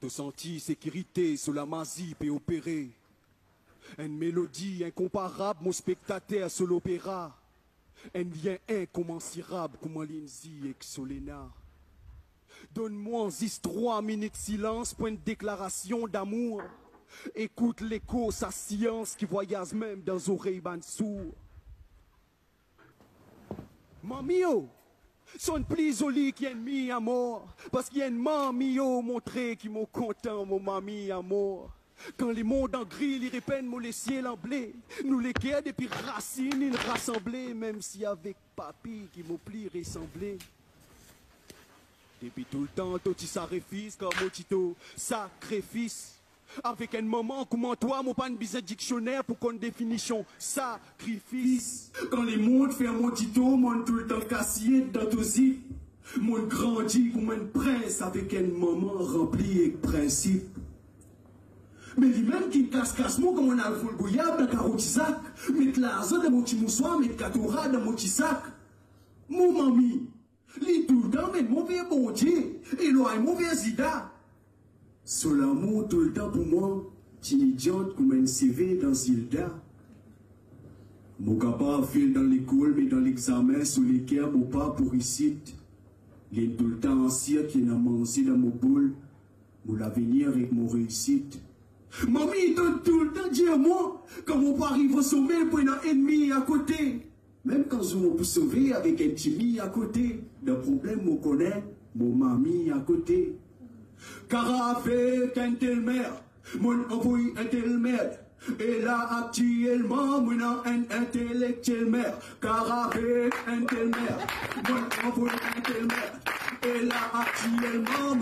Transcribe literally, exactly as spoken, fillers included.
To santi sekirite so lamazi pe opere. Enn melodi inkonparab mo spektater so lopera. Enn lien inkomansirab kouma Lindsay ek Solena. Donn mwa zis trwa minit silans pou enn deklarasion damour. Ekout leko sa silans ki vwayaz mem dan zorey bann sour. Mami o, sonn pli zoli ki enn mir amor, parski enn mami o montre ki mo kontan mo mami amor. Kan lemond an gri, li repenn mo lesiel an ble, nou leker depi rasinn inn rasanble, mem si avek papi ki mo pli resanble. Depi toultan to ti sakrifis, kan mo ti to sakrifis. Avek enn manman kouma twa, mo pann bizin diksioner pou konn definision sakrifis. Kan lemond fer mo dito, monn toultan kasiet dan to zip. Monn grandi kouma enn prins avek enn manman ranpli ek prinsip. Me limem ki kas-kas mo kan monn al vol goyab dan karo ti zak, met larzan dan mo ti mouswar, met katora dan mo ti sak. Mo mami, li toultan amenn mo ver Bondie, elwagn mo ver Zida. So lamour toultan pou mwa ti idiant kouma enn seve dan Zilda. Mo kapav fel dan lekol, me dan lexamen so leker mo pa pou risit. Li toultan ansir ki ena manze dan mo boul, mo lavenir ek mo reisit. Mami, to toultan dir mwa, kan mo pou ariv o some, pou ena ennmi akote. Mem kan zour mo pou sove avek enn ti mir akote, dan problem mo kone mo mami akote. Kara avek enn tel mer, monn anvoy enn tel merd. E la aktielman, mo ena enn intelektiel mer. Kara avek enn tel mer, monn anvoy enn tel merd. E la aktielman, mo